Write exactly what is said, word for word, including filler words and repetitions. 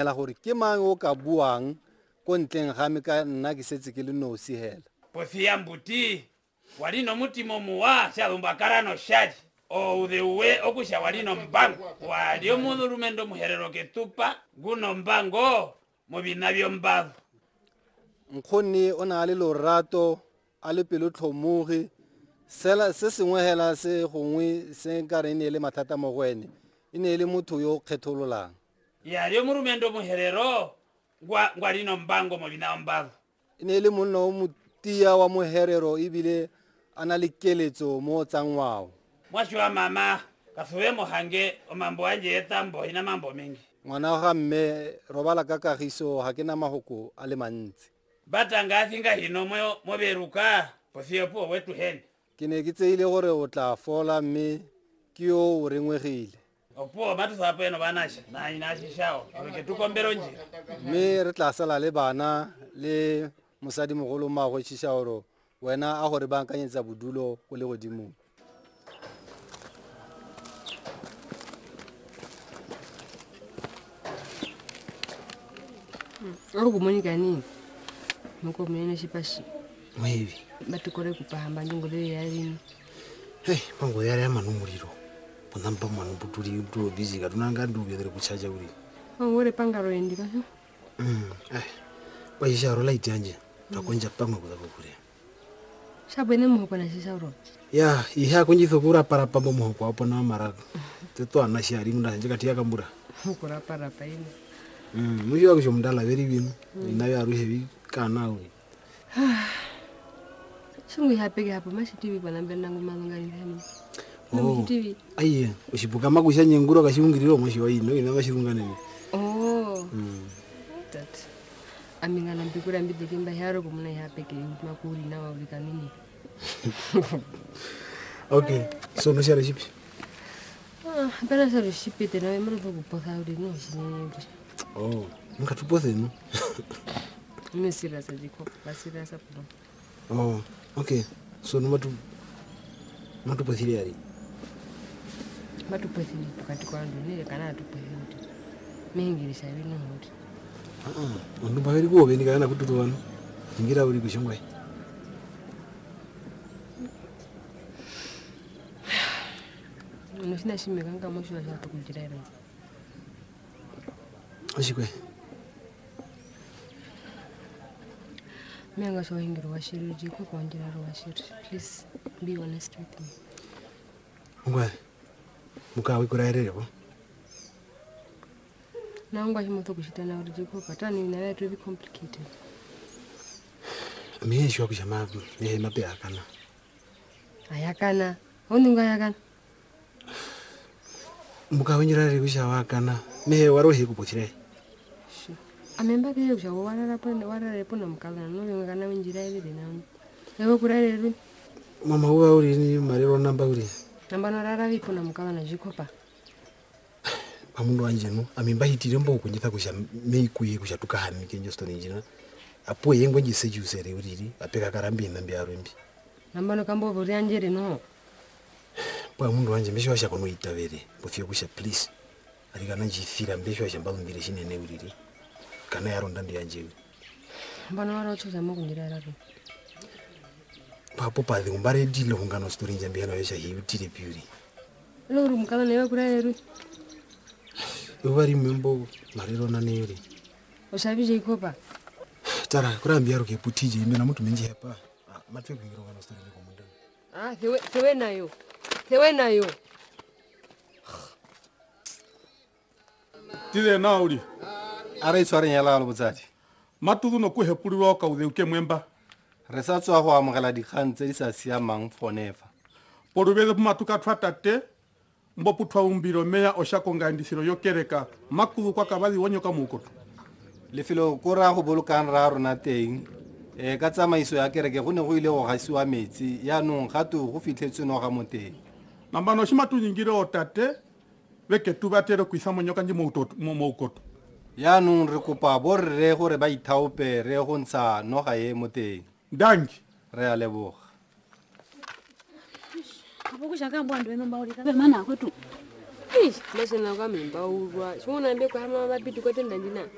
La gore ke mang o ka buang ko ntleng ga me ka nna ke setse ke le nosi hela. Pothia mbuti walino mutimo muwa shalumbakara no shaji o udewe okusha walino mbango walio mudulumendo muherero ketupa guno mbango mobina byombavu. Nkgonne o na le lorato a le pelotlhomogi sela se sengwe hela se gongwe se nkare e ne e le mathata mo go ene e ne e le motho yo o kgethololang. Yalio murumendo muherero ngwa ngwalino mbango mobina mbavu. E ne e le monna o motia wa moherero ebile a na le keletso mo tsa ngwao. Mwasho mama kasuwe mohange o mambo anje etambo ina mambo mengi. Ngwana ga mme robala ka kagiso ga ke na mahoko a le mantsi. Batanga thinga hino mo mo beruka pothio po wetu hen. Ke ne ke tseile gore o tla fola mme ke yo o rengwegile. Opo batho sa peno banasha na ina shishao ke tukombero nje. Mme re tla sala le bana le mosadi mogolo mmago Shishaoro wena a gore bankanyetsa bodulo go le godimo. Oro kumonika nini? Moko mene shipashi. Mwevi. Batukore kupahamba ndingole yari. Hey, pango yari amanu muliro. Ponamba manu buturi buturo busy katunanga nduge dere kuchaja uri. Ongore pangaro endi ka. Mm. Eh. Waisha ro light yanje. Takonja pamwe kuza kukure. Shabwene muhoko na shishauro. Ya, iha kunjitho kura para pambo muhoko apo na mara. Teto ana shari munda nje katia kambura. Kura para pa ino. Mm, mujo akusho mndala veri binu. Inayo aruhe vi kana uri. Shungu ihapeke hapo mashitivi bwana mbele nangu malungani hani. Oh. Aiye, ushibuka makusha nyenguro kashungiriro mwashi wa ino ina mashirungane ni. Oh. Mm. That. Amingana mbikura mbidike mbaharo kumuna ihapeke makuri na wabika nini. Okay, so no share shipi. Ah, bana share shipi tena wewe mro kupotha uri no shine. Oh, mukatupothe no. Mesira sajiko, basira sapo. Oh, okay. So no matu matupothile ari. Matupothile pakati kwa ndu nile kana atupothile. Mingirisha bino huti. Ah ah, ndu baveri kuobe nikana kututu wanu. Ngira uri kushongwa. No sina shimeka nga mosho wa tukujira ira. Oshikwe. Mianga so hingiro washiri jiko kwa njira ro washiri. Please be honest with me. Ngwa. Mukawe kuraerere bo. Na ngwa himo kushita na uri jiko patani na to be complicated. Miye shwa kushama ne mape akana. Ayakana. Onunga ayakana. Mukawe njira kushawa akana. Mehe warohe kupothire. Amemba ke kusha warara pa warara po na mukala no ngana njira ile na. Ewe kuraerere. Mama uwa uri ni marero namba uri. Namba narara vipo na mukala na jikopa. Pamundu wanje no amemba hitire mbo kunyitha kusha meikuye kusha tukahami kenjo stone njina. Apo yengwe njisejusere uriri apeka karambi nambi arumbi. Namba no kambo bori anjere no. Pa mundu wanje mbesho washa kono itavere pofio kusha please. Arikana njifira mbesho washa mbalumbire shinene uriri. Kana yaronda ndi yanje. Mbana waro choza mo kunjira raro. Papo pa umbare dilo hungano story njambi hano yesha hiutire piuri. Loro mukala newe kuraeru. Uvari membo marero nane yuri. Osabije ikopa. Tara kurambia ruke putije imena mtu menji hapa. Matwe kuingira ngano story ndiko munda. Ah, thewe thewe nayo. Thewe nayo. Tile nauri. Are tshware nyala lo botsadi. Matudu no ku hepulwa ka udeuke mwemba. Re sa tswa go amogela dikgang tse di sa siamang forever. Porubele matuka thwatate mbo puthwa umbiro meya oshakonga ndisiro yokereka makudu kwa kabadi wonyoka mukoto. Lefelo ko ra go bolokang ra rona teng e ka tsamaiso ya kereke go ne go ile go gasiwa metsi yaanong gato go fitlhetswe noga mo teng. Nambano shimatu nyingire otate beke tubatero kuisa monyoka ndi mo mokoto. Yaanong re kopa borre gore ba ithaope re go ntsha noga e mo teng. Danki. Re a leboga. Ish, masena kwa mimba urwa. Shona ndeko hama mabidi kwa tenda ndina.